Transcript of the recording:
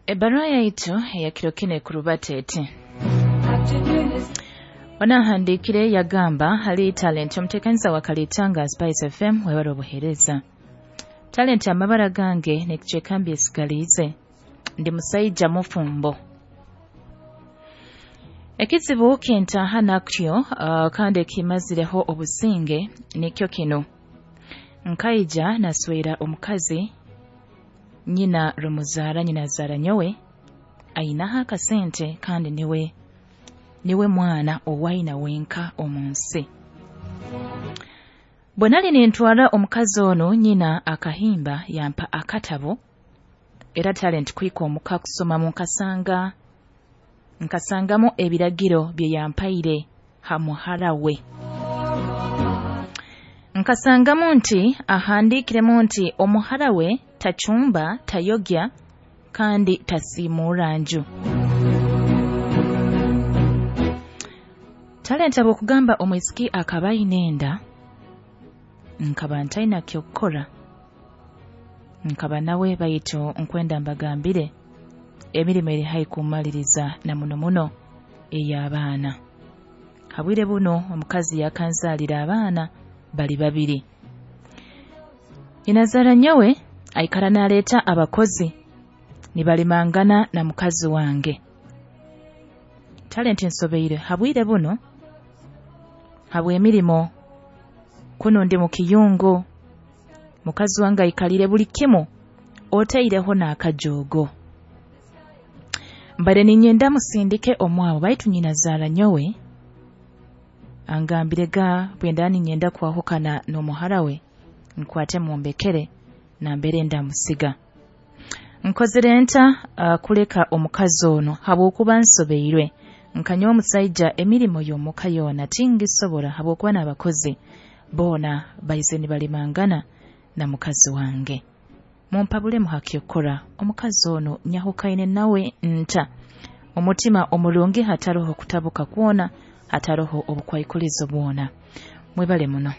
Ebbaruha yaitu eyakiro kinu ekurubata eti: Onahandiikire yagamba hali Talent, omuteekaniza wa Kalitanga Spice FM, webale obuheereza. Talent, amabara gange nekicweka mbyesigaliize, ndi musaija mufumbo. Ekizibu kintaaha nakyo kandi ekimazireho obusinge nikyo kinu: nkaija naswera omukazi nyina rumuzaara, nyina azaara nyowe, ainaho akasente kandi niwe mwana owaina wenka omu nsi. Bwe nali nintwara omukazi onu, nyina akahimba yampa akatabo, era Talent kuhika omuka kusomamu nkasangamu ebiragiro bye yampaire ha muhara we. Nkasangamu nti ahandiikiremu nti omuhara we tacumba, tayogya kandi tasiimuura nju. Talent, habw'okugamba omwisiki akaba aine enda, nkaba ntaina ky'okukora, nkaba nawe, baitu nkwenda mbagambire emirimo eri haihi kummaliriza na muno muno ey'abaana. Habwire buno omukazi yakanzaalira abaana bali babiri. Nyinazaara nyowe aikara naaleeta abakozi nibalimangana na mukazi wange. Talent, nsobeire habwire buno habw'emirimo, kunu ndi mu kiyungu, mukazi wange aikalire buli kimu otaireho n'akajoogo. Mbaire ninyenda musindike omwabo, baitu nyinazaara nyowe angambire ga bwenda ninyenda kwahukana n'omuhara we nkwate mumbekere nambere ndamusiga. Nkozere nta kuleka omukazi onu habwokuba nsobeirwe? Nkanyowe omusaija emirimo y'omuka yoona tingisobora habwokuba n'abakozi boona baize nibalimangana na mukazi wange. Mumpabulemu ha ky'okukora, omukazi onu nyahukaine nawe nta? Omutima omurungi, hataroho kutabuka kwona, hataroho obukwaikulizo bwona. Mwebale muno.